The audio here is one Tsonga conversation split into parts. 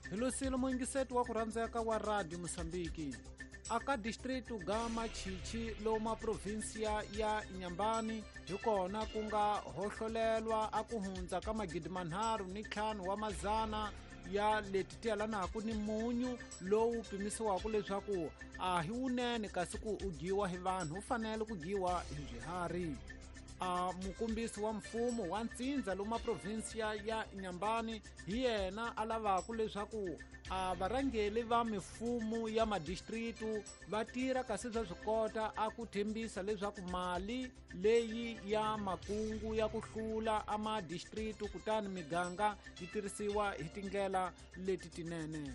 Hi losile muyingiseti wa ku rhandzeka wa Radio Mosambiki. Aka distritu ga Machichi loma provinsia ya Inhambane hi kona ku nga hohlolelwa a ku hundza ka 3500 wa mazana ya leti ti yelanaka ni munyu lowu pimisiwaka leswaku a hi wunene kasi ku u dyiwa hi vanhu wu fanele ku dyiwa hi swiharhi. A mukombisi wa mfumo wa ntsindza loma provinsia ya Inhambane hi yena a lavaka leswaku a varhangeli va mifumo ya madistritu va tirha kasi swa swi kota a ku tshembisa leswaku mali leyi ya makungu ya ku hlula a madistritu kutani miganga yi tirhisiwa hi tindlela leti tinene.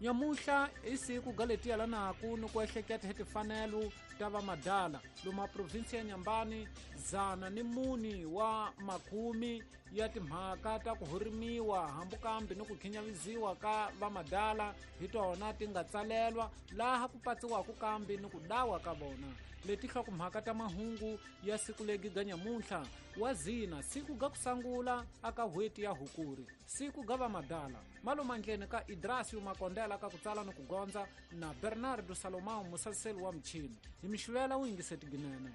Nyamuhla i siku ga leti yelanaka ni ku ehleketa hi timfanelo ta vamadala loma provinsi ya Inhambane 104 wa makumi ya timhaka ta ku hurimiwa hambukambi ni ku khinyaviziwa ka vamadala hi tona ti nga tsalelwa laha ku patsiwaka kambi ni ku dawa ka vona. Leti hlokomhaka ta mahungu ya siku legi ga nyamuntlha wa zina siku ga ku sangula aka hweti ya Hukuri siku ga vamadala malomandleni ka Idrasio Makondela ka ku tsala ni ku gondza na Bernardo Salomão musaseli wa michini hi mixivela wu yingiseti ginene.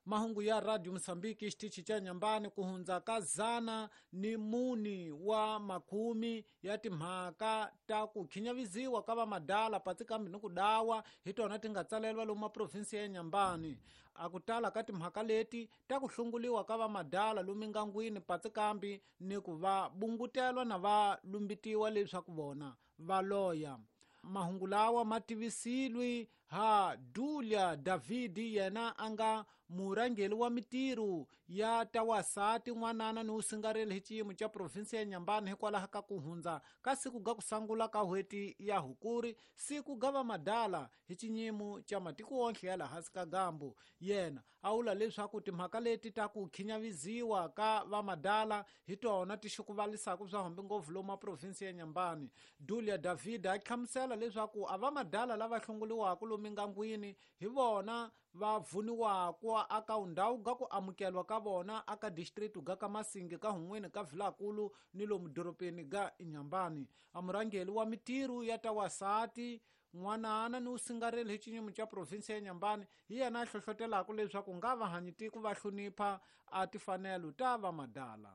Mahungu ya Radio Mosambiki xitichi xa Inhambane ku hundza ka 104 wa makumi ya timhaka ta ku khinyaviziwa ka vamadala patsi kambe ni ku dawa hi tona ti nga tsalelwa lomu maprovinsi ya Inhambane. A ku tala ka timhaka leti ta ku hlunguliwa ka vamadala lomu mingangwini patsi kambi ni ku va bungutelwa na va lumbitiwa leswaku vona va loya. Mahungu lawa ma tivisilwi ha Dulia Davidi yena a nga murhangeri wa mitirho ya tawasati n'wanana ni wusingareli hi xiyimo xa provinsi ya Inhambane hikwalaho ka ku hundza ka siku ga ku sangula ka hweti ya Hukuri siku ga vamadala hi xinyimo xa matiko wonhle ya laha hansi ka gambu. Yena a vula leswaku timhaka leti ta ku khinyaviziwa ka vamadala hi tona ti xukuvalisaka swa hambi ngopfu lomu provinsi ya Inhambane. Dulia David a hlamusela leswaku a vamadala lava hlongoliwaka lomu mingangwini hi vona va vuniwaka aka ndhawu ga ku amukelwa ka vona aka district ga ka Masingi ka Hun'wini ka Vilakulu ni lomu dorobeni ga Inhambane. A murhangeri wa mitirho ya tawasati n'wanana ni wusingareli hi xinyimo xa provinsi ya Inhambane hi yena a hlohlotelaka leswaku nga va hanyi tiko va hlonipha a timfanelo ta vamadala.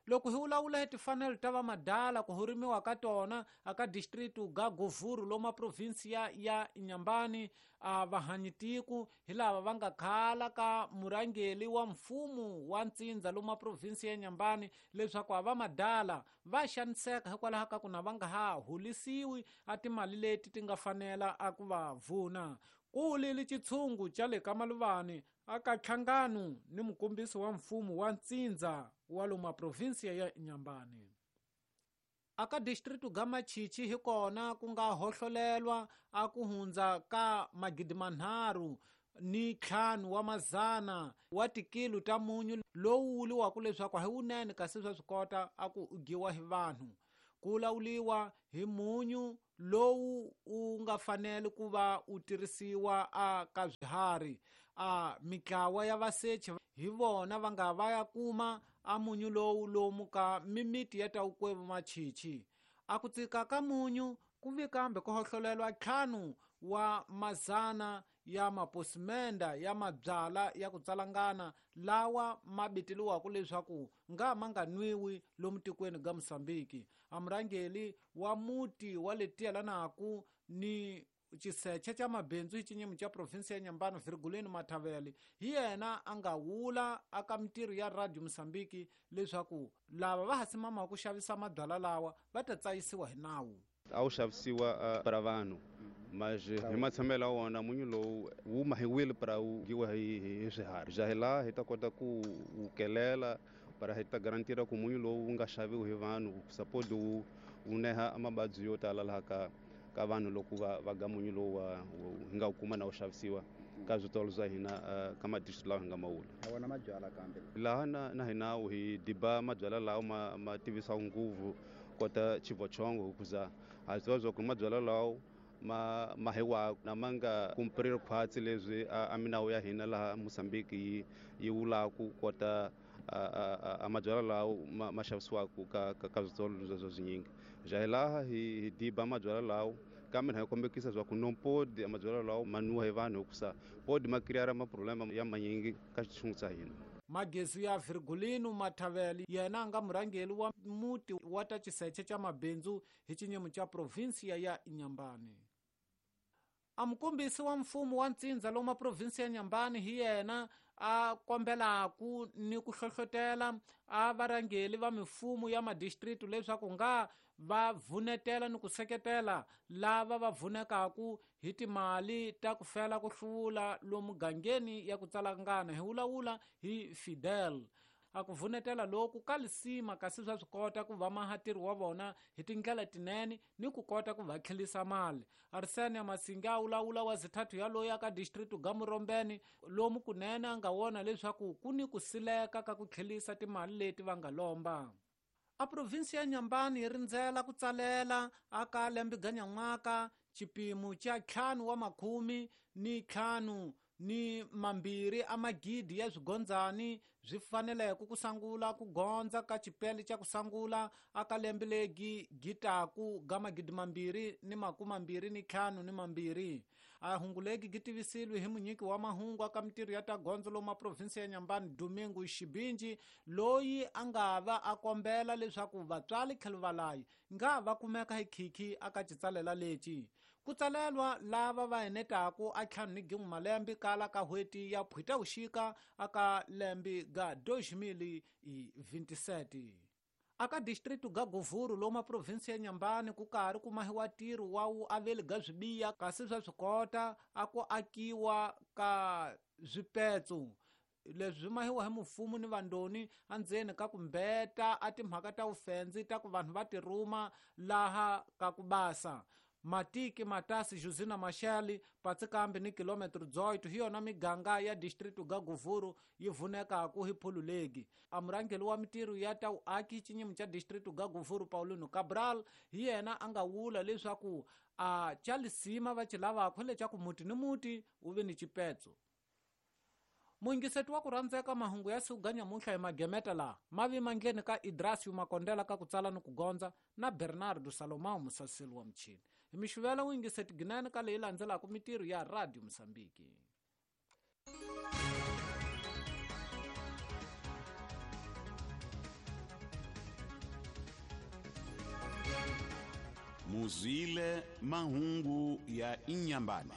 Loko hi vulavula hi timfanelo ta vamadala ku hurimiwa ka tona aka district ga Govuru loma provinsi ya Inhambane a vahanyi tiko hi lava va nga khala ka murhangeri wa mfumo wa ntsindza loma provinsi ya Inhambane leswaku a vamadala va xaniseka hikwalaho ka ku na va nga ha holisiwi a timali leti ti nga fanela a ku va vuna. Ku lili xitshungu xa le ka Maluvani aka nhlangano ni mukombisi wa mfumo wa ntsindza wa loma provinsia ya Inhambane. Aka district ga Machichi hi kona ku nga hohlolelwa a ku hundza ka 3500 wa mazana wa tikilo ta munyu lowu wuliwaka leswaku hi wunene kasi swa swi kota a ku dyiwa hi vanhu. Ku lawuliwa hi munyu lowu u nga fanele ku va u tirhisiwa a ka swiharhi. A mitlawa ya vasechi hi vona va nga va ya kuma a munyu lowu lomu ka mimiti ya tawukwevu Machichi. A ku tsika ka munyu ku vi kambe ku hohlolelwa 5 wa mazana ya maposimenda ya mabyala ya ku tsalangana lawa ma biteliwaka leswaku nga ma nga nwiwi lomu tikweni ga Mosambiki. A murhangeri wa muti wa le tiyelanaku ni xiseche xa mabindzu hi xinyimo xa provinsi ya Inhambane Virgulino Mathavele hi yena a nga wula aka mitirho ya Radio Mosambiki leswaku lava va ha simamaka ku xavisa mabyala lawa va ta tsayisiwa hi nawu. A wu xavisiwa para vanhu mas hi matshamelo ya wona munyu lowu wu mahiwile para wu dyiwa hi swiharhi. Ja hi laha hi ta kota ku wu kelela para hi ta garantira ku munyu lowu wu nga xaviwi hi vanhu suppose wu neha mavabyi yo tala laha ka vanhu loko va ga munyu lowu hi nga wu kuma na wu xavisiwa ka switolo swa hina ka madistrict lawa hi nga mawula. A wona mabyala kambe. Laha na hina hi diba mabyala lawa ma tivisaka nguvu kota chivochongo hikuza ha swi tiva swa ku mabyala lawa ma mahiwa na ma nga cumprir khwatsi leswi a minawu ya hina laha Mozambique yi vulaku kota a mabyalwa lawo ma xavisiwaka ka switolo swa swinyingi. Ja laha hi diba mabyalwa lawo kambe hi kombekisa swa ku no podi a mabyalwa lawo ma nwiwa hi vanhu hikusa podi ma create ma problema ya manyingi ka xitshungu xa hina. Magezi ya Virgulino Mathavele yena a nga murhangeri wa muti wa ta xiseche xa mabindzu hi xinyimo xa provinsia ya Inhambane. A mukombisi wa mfumo wa ntsindza lomu provinsi ya Inhambane hi yena a kombelaku ni ku hlohlotela a varhangeri va mifumo ya madistrict leswaku nga va vunetela ni ku seketela lava va vunekaku hi timali ta ku fela ku hluvula lomu gangeni ya ku tsalangana hi vulavula hi Fidel. A ku vunetela loku ka lisima kasi swa swi kota ku va mahatirhi wa vona hi tindlela tinene ni ku kota ku va tlhelisa mali. Arsene Masinga a vulavula wa zithathu ya loyi aka district ga Murombeni lomu kunene a nga vona leswaku ku ni ku sileka ka ku tlhelisa timali leti va nga lomba. A provinsi ya Inhambane yi rindzela ku tsalela aka lembe ga nyan'waka xipimo xa 5 wa makhumi ni 5 ni mambirhi a magidi ya swigondzani swi faneleke ku sangula ku gondza ka xipele xa ku sangula aka lembe legi gitaku ga magidi mambirhi ni makume mambirhi ni ntlhanu ni mambirhi. A hungu legi gi tivisile hi munyiki wa mahungu aka mitirho ya ta gondzo lomu provinsi ya Inhambane Domingo Xibinji loyi a nga va a kombela leswaku vatswari tlhelo valayi nga va kumeka hi khikhi aka xitsalela lexi. Ku tsalelwa lava va enetaku a ntlhanu ni gin'we malembe kala ka n'hweti ya Phutavuxika aka lembe ga 2027. Aka district ga Govuro lomu provinsi ya Inhambane ku karhi ku mahiwa ntirho wa vuaveli ga swibiya kasi swa swi kota a ku akiwa ka swipetso leswi swi mahiwa hi mfumo ni vandoni endzeni ka ku mbeta a timhaka ta vufendzi ta ku vanhu va tirhuma laha ka ku basa. Matiki Matasi Josina Machel Patsikambi ni kilometro 18 hi yona miganga ya district ga Govuro yi vunekaku hi phululegi. A murhangeri wa mitirho ya ta vuaki xinyimo xa district ga Govuro Paulino Cabral hi yena a nga vula leswaku a xa lisima va xi lavaka leswaku muti ni muti wu ve ni xipetso. Muyingiseti wa ku rhandzeka mahungu ya siku ga nyamuntlha hi magemeta laha ma vi mandleni ka Idrasio Makondela ka ku tsala ni ku gondza na Bernardo Salomão musaseli wa michini. Hi mixivela muyingiseti ginene ka leyi landzelaka mitirho ya Radio Mozambique. Muzwile mahungu ya Inhambane.